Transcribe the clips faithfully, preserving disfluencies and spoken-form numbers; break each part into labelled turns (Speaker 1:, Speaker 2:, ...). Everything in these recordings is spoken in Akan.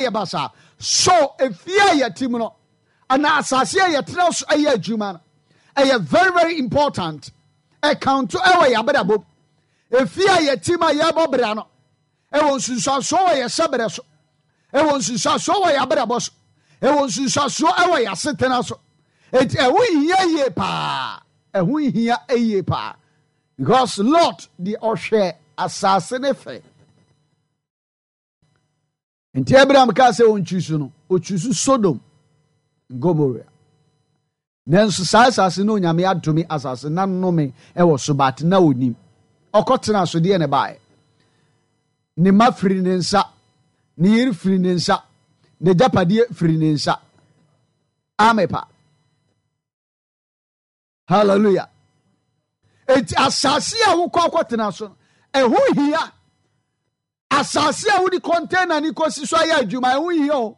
Speaker 1: Ayɛ basaa. So efie a yɛte mu no anaa asase a yɛtena so ɛyɛ adwuma no, ɛyɛ very very important. Ɛkanto ɛwɔ yɛn abrabɔ mu. Efie a yɛte mu a yɛrebɔ bra no, ɛwɔ nsunsuansoɔ wɔ yɛn hyɛbrɛ so, ɛwɔ nsunsuansoɔ wɔ yɛn abrabɔ so, ɛwɔ nsunsuansoɔ ɛwɔ yɛn asetena so. Eti ɛho hia yie paa, ɛho hia yie paa, because Lot deɛ, ɔhwɛ asase ne fɛ. Nti Abraham kaa sɛ ɔntwi so no, ɔtwi so Sodom, Gomorrah. Nanso saa asase no, Onyame adome asase na nnome ɛwɔ so, but na onim. Ɔkɔtena so deɛ ne baeɛ, ne ma firi ne nsa, ne yere firi ne nsa, ne gyapadeɛ firi ne nsa. Amepa hallelujah. Eti asase a wokɔ akɔtena so no, ɛho hia. Asase a wode container ne kɔsi so ayɛ adwuma, ɛho hia o.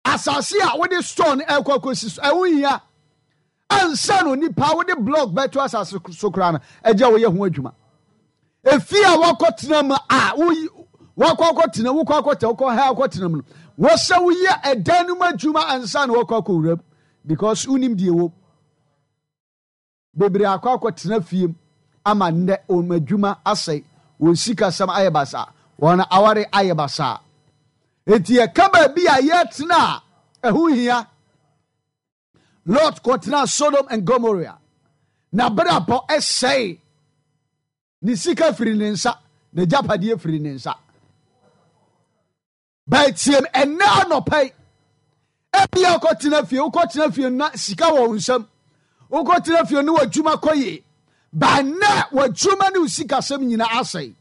Speaker 1: Asase a wode store no ɛkɔ akɔsi so, ɛho hia. Ansa na onipa wode block bɛto asase so koraa no, ɛgya woyɛ ho adwuma. Efie a wakɔtena mu a woyi wakɔ akɔtena, wokɔ akɔtena, wokɔ ha akɔtena mu no, wɔsɛ woyɛ ɛdan no mu adwuma ansa na wakɔ akɔwura mu, because wonim deɛ wɔ bebree. Akɔ akɔtena fie mu ama nnɛ wɔn adwuma asɛe, wɔn sikasɛm ayɛ basaa, wɔn aware ayɛ basaa. Eti yɛka baabi a yɛtena a, ɛho hia. Lot kɔtena Sodom and Gomorrah na brabɔ ɛsɛe, ne sika firi ne nsa, ne gyapadeɛ firi ne nsa. Bɛtiem ɛnɛ anɔpa yi, ebia wokɔtena fie, wokɔtena fie na sika wɔ wo nsam, wokɔtena fie ne w'adwuma kɔ yie, ba nnɛ w'adwuma ne wo sikasɛm nyinaa asɛe.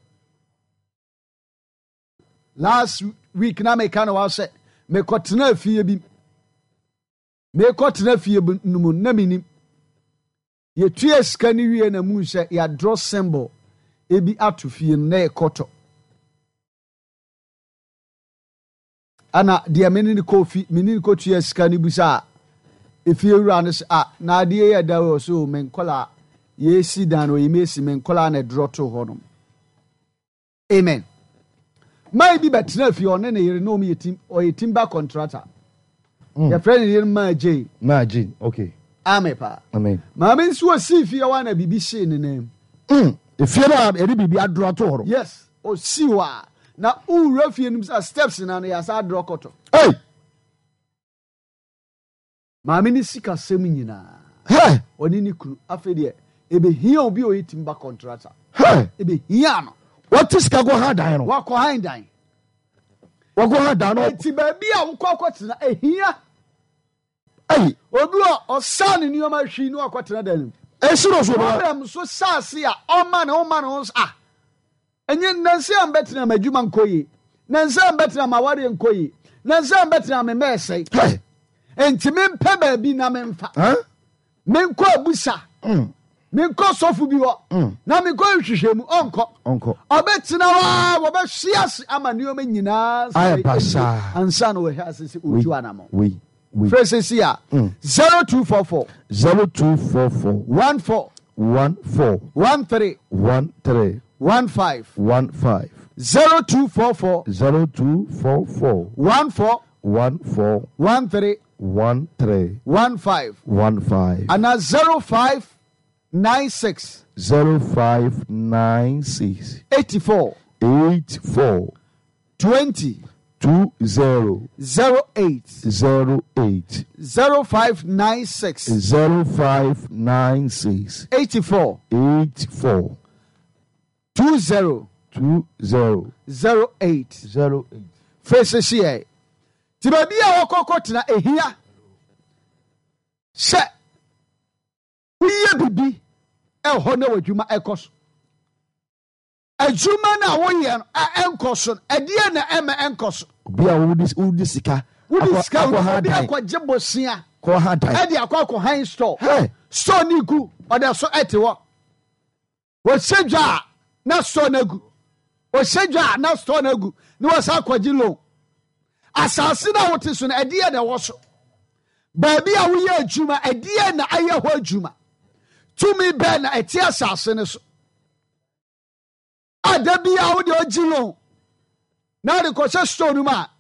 Speaker 1: Last week na meka no wa sɛ mekɔtena fie bi, mekɔtena fie bi no mu na menim yɛtua sika no wie na mu sɛ yɛadorɔ symbol ebi ato fie no na yɛkɔtɔ. Ana deɛ mene ne kɔ fi, mene ne kɔtua sika no bisa a, efie wura no sɛ, "A, na adeɛ yɛ da wɔ so me nkɔla yɛsi dan no, ɔyɛ mesi me nkɔla na ɛdorɔ to hɔ nom." Amen. Maa bi bɛtena fie, ɔne ne yere na ɔmo yɛ tim, ɔyɛ timber contractor.
Speaker 2: Mm.
Speaker 1: Yɛfrɛ ne yere Maa Jane.
Speaker 2: Maa Jane, okay.
Speaker 1: Ame paa.
Speaker 2: Amen.
Speaker 1: Maame nso osii fie hɔ a na biribi hyee ne nan mu.
Speaker 2: Mm. Efie no a yɛde biribi adoro ato hɔ no.
Speaker 1: Yes, osii hɔ a na wowura fie no mu sɛ steps na no yɛasa adorɔ kɔtɔ.
Speaker 2: Hey!
Speaker 1: Maame ne sikasɛm nyinaa,
Speaker 2: Hey!
Speaker 1: ɔne ne kunu, afei deɛ ebehia obi a ɔyɛ timber contractor.
Speaker 2: Hey!
Speaker 1: Ebehia no.
Speaker 2: Wɔte sika kɔ ha dan no.
Speaker 1: Wakɔ han dan.
Speaker 2: Wɔkɔ ha dan no.
Speaker 1: Eti baabi a wokɔ akɔtena ehia.
Speaker 2: Hey!
Speaker 1: Obi a ɔsaa ne nneɛma hwii ne wakɔtena dan no mu.
Speaker 2: Esi no so no.
Speaker 1: Problem so saase a ɔma ne ɔma ne ho so a, ɛnyɛ nansi a mbɛtena ma adwuma nkɔ yie, nansi a mbɛtena ma awareɛ nkɔ yie, nansi a mbɛtena me mɛɛsɛe.
Speaker 2: Hey!
Speaker 1: Nti mempɛ baabi na memfa
Speaker 2: Huh?
Speaker 1: menkɔ abusa,
Speaker 2: Mm.
Speaker 1: menkɔ sɔfo bi hɔ
Speaker 2: Mm.
Speaker 1: na menkɔ nhwehwɛ mu, ɔnkɔ.
Speaker 2: Ɔnkɔ.
Speaker 1: Ɔbɛtena hɔ a, wɔbɛhwe ase ama nneɛma nyinaa
Speaker 2: Ayɛ
Speaker 1: sɛe
Speaker 2: basaa.
Speaker 1: awie ansa na wɔhwɛ ase sɛ
Speaker 2: Wei.
Speaker 1: ɔtu anammɔ.
Speaker 2: Wei. Wei.
Speaker 1: Frɛ sɛsi a
Speaker 2: Mm.
Speaker 1: zero two four four
Speaker 2: Zero two four four
Speaker 1: one four
Speaker 2: one four
Speaker 1: one three
Speaker 2: one three
Speaker 1: one five
Speaker 2: one five
Speaker 1: zero two four four
Speaker 2: zero two four four
Speaker 1: one four
Speaker 2: one four
Speaker 1: one three
Speaker 2: one three
Speaker 1: one five
Speaker 2: one five
Speaker 1: anaa zero five nine six
Speaker 2: zero five nine six
Speaker 1: eighty-four
Speaker 2: eight four
Speaker 1: twenty
Speaker 2: two zero
Speaker 1: zero eight
Speaker 2: zero eight
Speaker 1: zero five nine six
Speaker 2: zero five nine six
Speaker 1: eighty-four
Speaker 2: eight four
Speaker 1: twenty
Speaker 2: two zero
Speaker 1: zero eight.
Speaker 2: zero eight.
Speaker 1: Frɛ sɛsiɛ. Nti baabi a wɔkɔkɔ tena ehia sɛ woyɛ bibi ɛhɔ na w'adwuma ɛkɔ so. Adwuma no a woyɛ no a ɛnkɔ so no, ɛdeɛ na ɛma ɛnkɔ so?
Speaker 2: Obi a wodi wodi sika
Speaker 1: wode
Speaker 2: akɔ
Speaker 1: sika
Speaker 2: akɔ ha
Speaker 1: obi
Speaker 2: dan
Speaker 1: akɔgye bosea
Speaker 2: kɔ ha dan.
Speaker 1: Ɛde akɔ akɔ han store.
Speaker 2: Hey!
Speaker 1: Store ne gu, ɔda so ɛte hɔ. Wɔhyɛ dwa a na store no agu, ɔhyɛ dwa a na store no agu, na wɔsa akɔgye loan. Asase no a wote so no, ɛdeɛ na ɛwɔ so? Baabi a woyɛ adwuma, ɛdeɛ na ayɛ hɔ adwuma? Tumi bɛɛ na ɛte asase no so a da biara wode ɔgye loan na wode kɔhyɛ store no mu a